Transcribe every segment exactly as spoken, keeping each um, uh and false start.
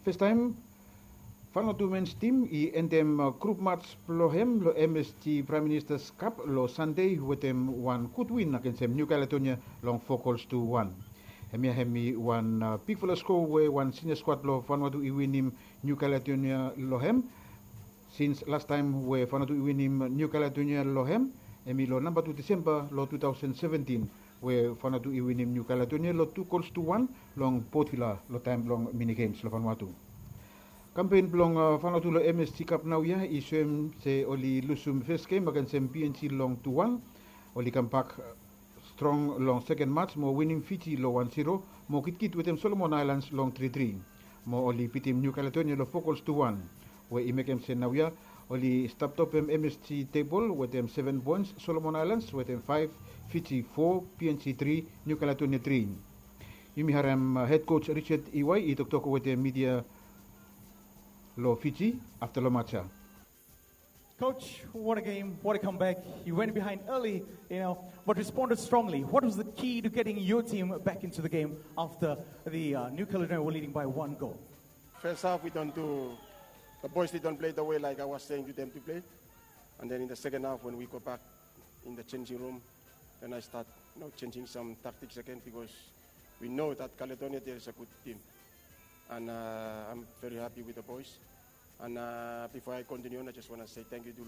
Festaem, Vanuatu mens tim i endem grup mats blong hem long M S G Prime Minister's Cup long Sande wetem wan gud win agensem New Caledonia long four gols tu wan. Hemia hem i wan bigfala skoa we wan sinia skuad blong Vanuatu i winim New Caledonia long hem. Sins lastaem we Vanuatu i winim New Caledonia long hem, hem i long namba tu Disemba long two thousand seventeen, we Vanuatu i winim New Caledonia long two gols tu wan long Port Vila long taem blong mini games long Vanuatu. Kampen blong Vanuatu long M S G Cup naoia i soem se oli lusum fes gem agensem P N G long tu wan. Oli kambak strong long seken mats mo winim Fiji long wan zero, mo gitkit wetem Solomon Aelans long tri tri. Mo oli bitim New Caledonia long four gols tu wan, we i mekem se naoia oli stap topem M S G tebol wetem seven poens, Solomon Aelans wetem faef, Fiji four, P N G tri, New Caledonia tri. Yumi harem hed koj Richard Iwai i toktok wetem midia long Fiji afta long mats ya. Coach, what a game, what a comeback. You went behind early, you know, but responded strongly. What was the key to getting your team back into the game after the uh, New Caledonia were leading by one goal? First half, we don't do, the boys, they don't play the way like I was saying to them to play. And then in the second half, when we go back in the changing room, then I start, you know, changing some tactics again because we know that Caledonia, there is a good team. And uh, I'm very happy with the boys. And uh, before I continue on, I just want to say thank you to,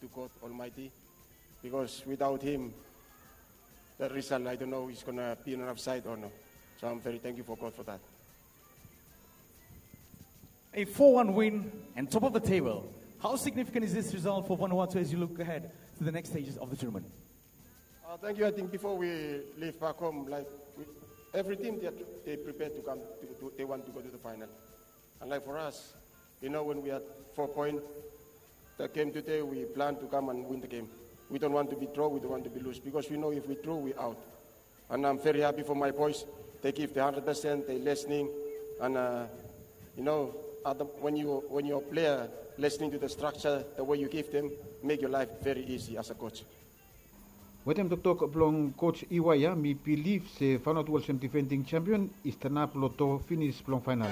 to God Almighty, because without Him, the result, I don't know, is going to be on our side or no. So I'm very thankful for God for that. A four one win and top of the table. How significant is this result for Vanuatu as you look ahead to the next stages of the tournament? Uh, thank you. I think before we leave back home, like we, every team, they, are, they prepared to come, to, to, they want to go to the final. And like for us, you know, when we had four points, the game today, we plan to come and win the game. We don't want to be draw, we don't want to be lose, because we know if we draw, we out. And I'm very happy for my boys. They give the hundred percent, they listening. And, uh, you know, at the, when, you, when you're a player, listening to the structure, the way you give them, make your life very easy as a coach. Wetem toktok blong koj Iwai ya, mi bilif se Vanuatu olsem difending champion i stanap long do finis blong faenal.